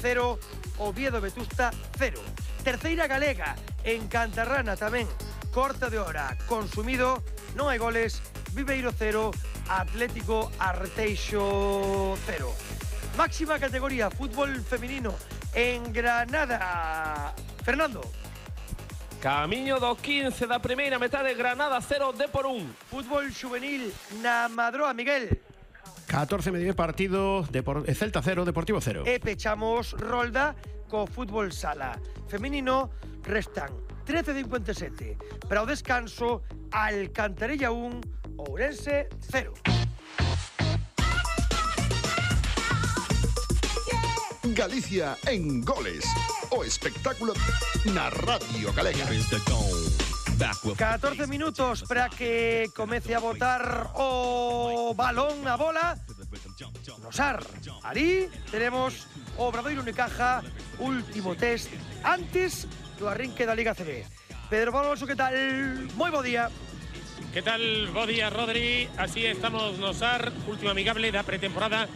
0, Oviedo Vetusta 0. Terceira galega, en Cantarrana tamén, corta de hora, consumido, non hai goles, Viveiro 0, Atlético Arteixo 0. Máxima categoría, fútbol femenino, en Granada. Fernando. Camiño do 15 da primeira metade, Granada 0, Depor 1. Fútbol juvenil na Madroa, Miguel. 14 medios partido, Celta 0, Deportivo 0. E pechamos rolda co fútbol sala. Femenino restan 13:57. Para o descanso, Alcantarilla 1, Ourense 0. Galicia en goles. O espectáculo na Radio Galega. 14 minutos para que comece a botar o balón, a bola. Nosar. Alí tenemos Obradoiro Unicaja, último test antes do arrinque da Liga CB. Pedro Barroso, que tal? Moi bo día. Que tal? Bo día, Rodri. Así estamos, Nosar, último amigable da pretemporada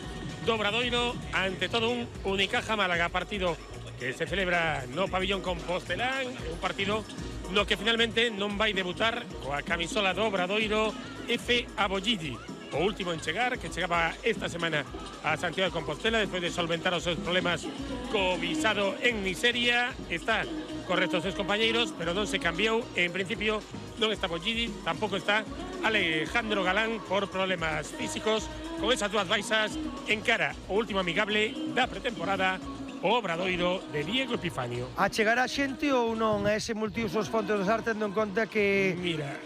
do Obradoiro, ante todo un Unicaja Málaga, partido que se celebra no pabillón Compostelán, un partido no que finalmente non vai debutar coa camisola do Obradoiro F. Abollidi, o último en chegar, que chegaba esta semana a Santiago de Compostela despois de solventar os seus problemas co visado en miseria. Está correctos seus compañeiros, pero non se cambiou. En principio non está Abollidi, tampouco está Alejandro Galán por problemas físicos. Con esas dúas baixas encara o último amigable da pretemporada o Obradoiro de Diego Epifanio. A chegar a xente ou non a ese multiusos Fontes do Sar, tendo en conta que... Mira,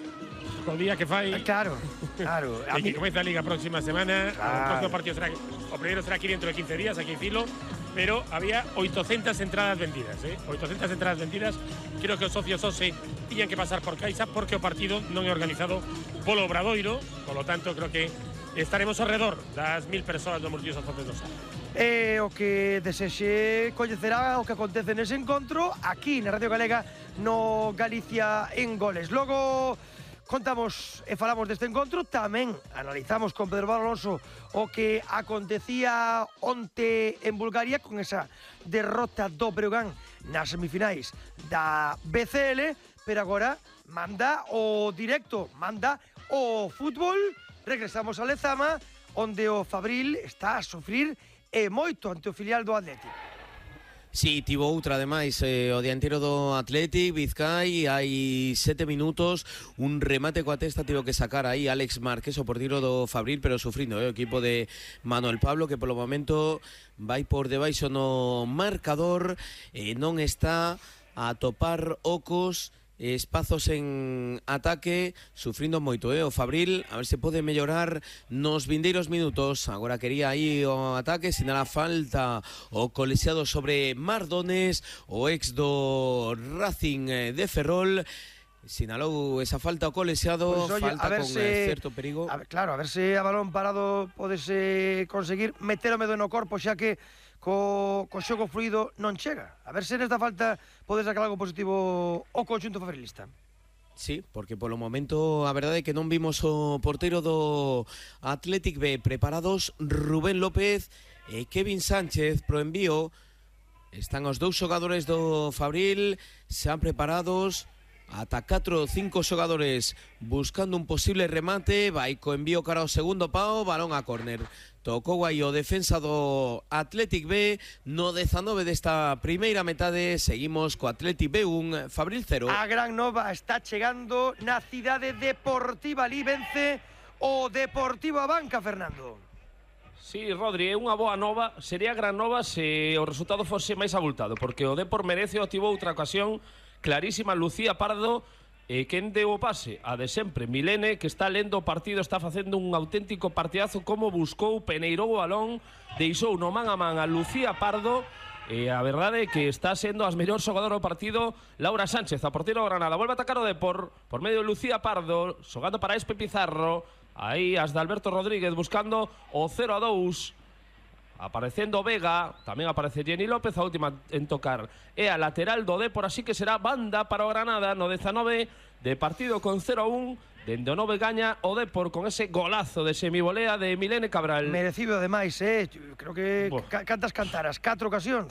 o día que fai... Claro, claro. E que comeza a Liga a próxima semana. Claro. O próximo partido será... O primeiro será aquí dentro de 15 días, aquí en Filo. Pero había 800 entradas vendidas, 800 entradas vendidas. Creo que os socios OSE tiñan que pasar por Caixa porque o partido non é organizado polo Obradoiro. Por lo tanto, creo que estaremos alrededor das 1000 persoas do multiusos Fontes do Sar. E o que desexe coñecerá o que acontece nese encontro aquí na Radio Galega no Galicia en Goles. Logo contamos e falamos deste encontro, tamén analizamos con Pedro Alonso o que acontecía onte en Bulgaria con esa derrota do Breogán nas semifinais da BCL, pero agora manda o directo, manda o fútbol. Regresamos a Lezama, onde o Fabril está a sufrir e moito ante o filial do Atlético. Sí, tivo outra, ademais, o dianteiro do Athletic, Vizcay, hai 7 minutos, un remate coa testa tivo que sacar aí Alex Márquez, o portiro do Fabril, pero sufrindo, o equipo de Manuel Pablo, que polo momento vai por debaixo no marcador, non está a topar ocos, espazos en ataque, sufrindo moito, o Fabril, a ver se pode mellorar nos vindeiros minutos. Agora quería aí o ataque, sinala falta o colexiado sobre Mardones, o ex do Racing de Ferrol. Sinalou esa falta o colexiado, pues, oye, falta con certo perigo. Claro, a ver se a balón parado podese conseguir meter o medo no corpo, xa que co xogo fluido non chega. A ver se nesta falta pode sacar algo positivo o conxunto fabrilista. Sí, porque polo momento a verdade é que non vimos o porteiro do Athletic B preparados. Rubén López e Kevin Sánchez pro envío. Están os dous xogadores do Fabril xa preparados. Ata 4 ou 5 xogadores buscando un posible remate. Vai co envío cara ao segundo pau, balón a córner. Tocou aí o defensa do Athletic B no 19 desta primeira metade. Seguimos co Athletic B 1, Fabril 0. A gran nova está chegando na cidade deportiva. Ali vence o Deportivo Abanca, Fernando. Sí, Rodri, é unha boa nova. Sería gran nova se o resultado fose máis abultado, porque o Depor merece, tivo outra ocasión clarísima, Lucía Pardo, quen deu o pase? A de sempre, Milene, que está lendo o partido, está facendo un auténtico partidazo, como buscou, peneirou o balón, deixou no man a man a Lucía Pardo, e a verdade é que está sendo as mellor xogadora do partido Laura Sánchez, a portero do Granada. Volve a atacar o Depor, por medio de Lucía Pardo, xogando para Espe Pizarro, aí as de Alberto Rodríguez buscando o 0-2, aparecendo Vega, tamén aparece Jenny López, a última en tocar é a lateral do Depor, así que será banda para o Granada no 19 de partido con 0-1. Dende o 9 gaña o Depor con ese golazo de semivolea de Milene Cabral. Merecido ademais, creo que cantas cantaras, 4 ocasións.